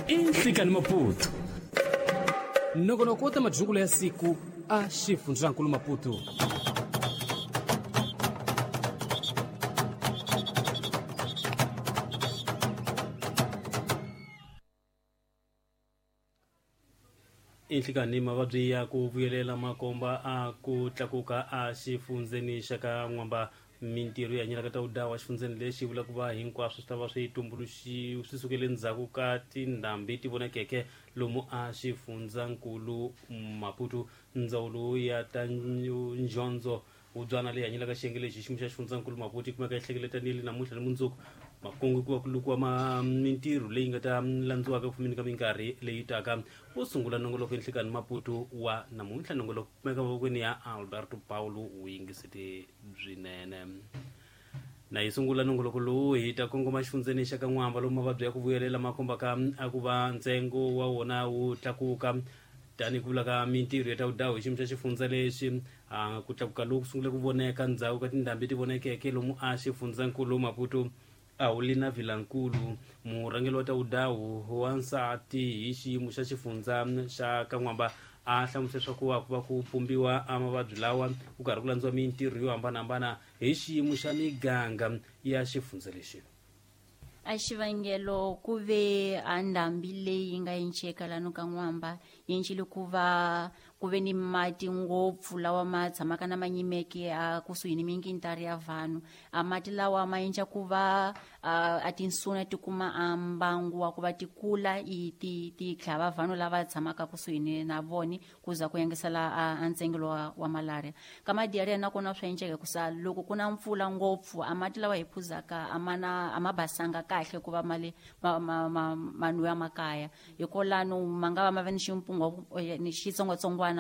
I Nhlikani Maputo. Nongonoko wa ta majungula ya siku a xifundzankulu Maputo. Inhlikani mavabyi ya ku vuyelela makomba a ku tlakuka a xifundzeni xa ka N'wamba. Mintirho ya nyilaka ta wudawa xifundzeni lexi vula ku va hinkwaswo swi ta va swi tumbuluxi swi sukele ndzhaku ka tindhambi ti vonakeke lomu a xifundzankulu Maputo. Ndzawulo ya ta njondzo wubyana leyi hanyelaka xiyenge lexi xiyimo xa xifundzankulu Maputo yi kumeka yi hlengeletanile namuntlha ni mundzuku. Makungu ku va ku lukiwa mintirho leyi nga ta landziwaka ku fumeni ka minkarhi leyi taka. Wo sungula nongoloko enhlikani Maputo wa namuntlha, nongoloko kumeka mavokweni ya Alberto Paulo, wu yingisete byinene. Na yi sungula nongoloko lowu hi ta kongoma xifundzeni xa ka N'wamba, lomu mavabyi ya ku vuyelela ma kombaka a ku va ntsengo wa wona wu tlakuka tanihi ku vula ka mintirho ya ta vudawu hi xiyimo xa xifundza lexi. Ku tlakuka loku sungule ku voneka ndzhaku ka tindhambi ti vonekeke lomu a xifundzankulu Maputo. Aulina Vilankulu, murhangeri wa ta vudawu wa nsati hi xiyimo xa xifundza xa ka N'wamba, a hlamusela leswaku a ku va ku pumbiwa a mavabyi lawa ku karhi ku landziwa mintirho yo hambanahambana hi xiyimo xa miganga ya xifundza lexi. A xivangelo ku ve a ndhambi leyi nga yinceka lano ka N'wamba yi encile ku va ku ve ni mati ngopfu lawa ma tshamaka na ma nyimeke a kusuhi ni minkintari ya vanhu. A mati lawa ma endla ku va a tinsuna ti kuma a mbangu wa ku va ti kula i ti tlhava vanhu lava tshamaka kusuhi ni na voni, ku za ku yangisela a ntsengelo wa malaria. Ka madiarrhea nakona swa endleka hikusa loko ku na mpfula ngopfu a mati lawa hi phuzaka a ma na a ma basanga kahle ku va mali ma nwiwa makaya, hikolano ma nga va ma va ni ximpungo ni xitsongwatsongwana.